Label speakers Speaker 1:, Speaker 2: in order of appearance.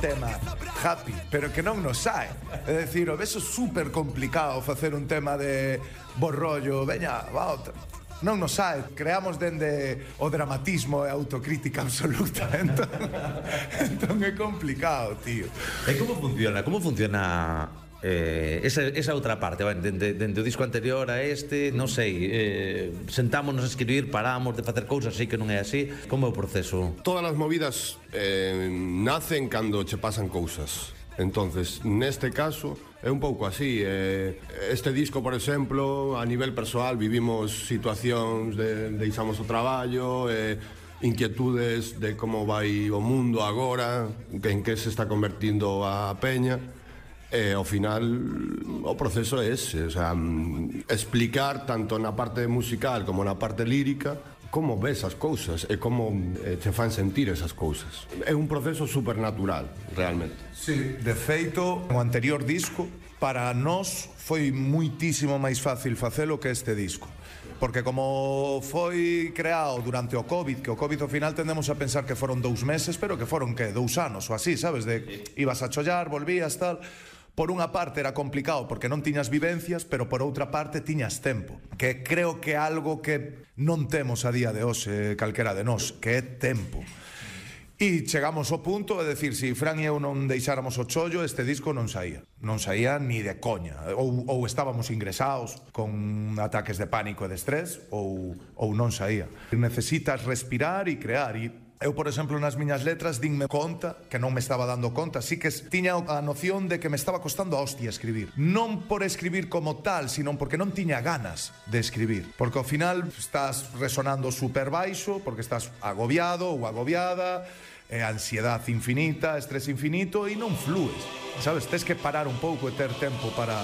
Speaker 1: tema happy, pero que non nos sae. É dicir, o veso super complicado facer un tema de bo rollo, veña, va outra. Non nos sae, creamos dende o dramatismo e a autocrítica absoluta. Entón é complicado, tío.
Speaker 2: E como funciona? Como funciona esa outra parte? Bueno, dende o disco anterior a este, non sei, sentámonos a escribir, paramos de facer cousas, sei que non é así. Como é o proceso?
Speaker 3: Todas as movidas nacen cando che pasan cousas. Entonces, neste caso, é un pouco así. Este disco, por exemplo, a nivel persoal, vivimos situacións de deixamos o traballo, inquietudes de como vai o mundo agora, en que se está convertindo a peña. Ao final, o proceso é ese, o sea, explicar tanto na parte musical como na parte lírica como ves as cousas e como te fan sentir esas cousas. É un proceso supernatural, realmente.
Speaker 1: Sí, de feito, o anterior disco para nós foi muitísimo máis fácil facelo que este disco. Porque como foi creado durante o COVID, que o COVID ao final tendemos a pensar que foron 2 meses, pero que foron, que, 2 anos ou así, sabes? De ibas a chollar, volvías, tal. Por unha parte era complicado porque non tiñas vivencias, pero por outra parte tiñas tempo, que creo que é algo que non temos a día de hoxe calquera de nós, que é tempo. E chegamos ao punto de decir, se Fran e eu non deixáramos o chollo, este disco non saía. Non saía ni de coña. Ou estábamos ingresados con ataques de pánico e de estrés, ou non saía. Necesitas respirar e crear. E eu, por exemplo, nas miñas letras dinme conta, que non me estaba dando conta, sí que tiña a noción de que me estaba costando a hostia escribir. Non por escribir como tal, sino porque non tiña ganas de escribir. Porque ao final estás resonando super baixo, porque estás agobiado ou agobiada, ansiedade infinita, estrés infinito, e non flues, sabes? Tes que parar un pouco e ter tempo para